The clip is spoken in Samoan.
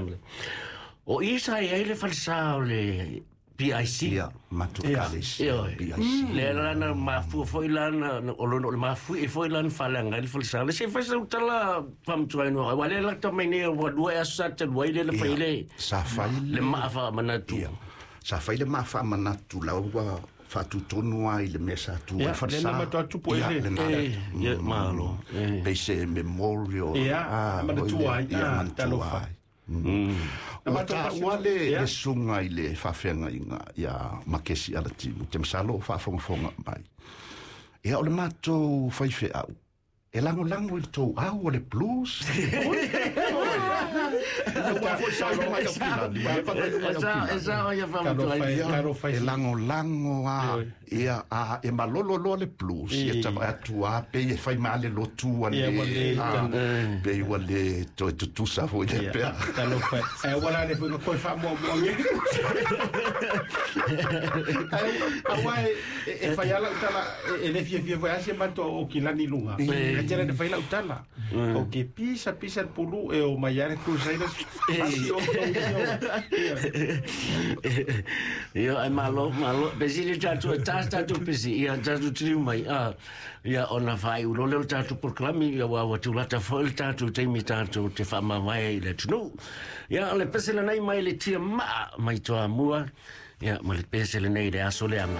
Family. O i sa i ai le falesa o le PIC. Ia, matou ekalesia, Ioe. PIC. Lea la na mafua foi la na o lona o le mafuie foi la na faaleaga ai le falesa. Le se fai sau tala faamanatuaina aua lea lata mai nei ua lua ea aso sa talu ai lea na fai ai le Sa fai le maa faamanatu. Ia. Sa fai le maa faamanatu la ua faatutonu lava i le mea sa tu ai Ia, falesa. lea na matua tupu ai Ia, le- lena. Eh, ia, malo. Eh. Pei se memorial. Ia, ah, manatua ai, Ia, ah, manatua talofa. ai. Ua matou taua le Ia. le suga i le faafeagaiga ia Makesi Alatimu, te masalo o faafogafoga mai. Ia o le matou faifeau, e lagolago i le tou au o le blues. Ua foi sa mai au kilani, ua leva ona iu mai au E sa e kilani. sa o ia faamanatu ai. Ia, Talofa e lagolago a Ioe. ia a e malolo loa le blues ia tava atu a pei e fai ma le lotu a Ia, ua le le a, pei ua le toe tutusa foi le pea. Talofa. E ua la le foi na koe faamuamua nge. Aua e e fai ala utala e le fiafia foi a se matou o kilani i luga. E tele na fai lau tala. O ke pisa pisa le pulu e o mai ale Crusaders. Pasi o tou Ia, ai malo, malo. Pesi le tatou, e tas tatou pesi, ia tatou tiliu mai. Ah, ia, ona faaiu loa lea o le tatou polokalame, ia ua ua tulata foi le tatou taimi tatou te faamavae ai i le atunuu. Ia, o le pese lenei mai le tia maa mai Toamua, ia, ma le pese lenei i le aso leaga.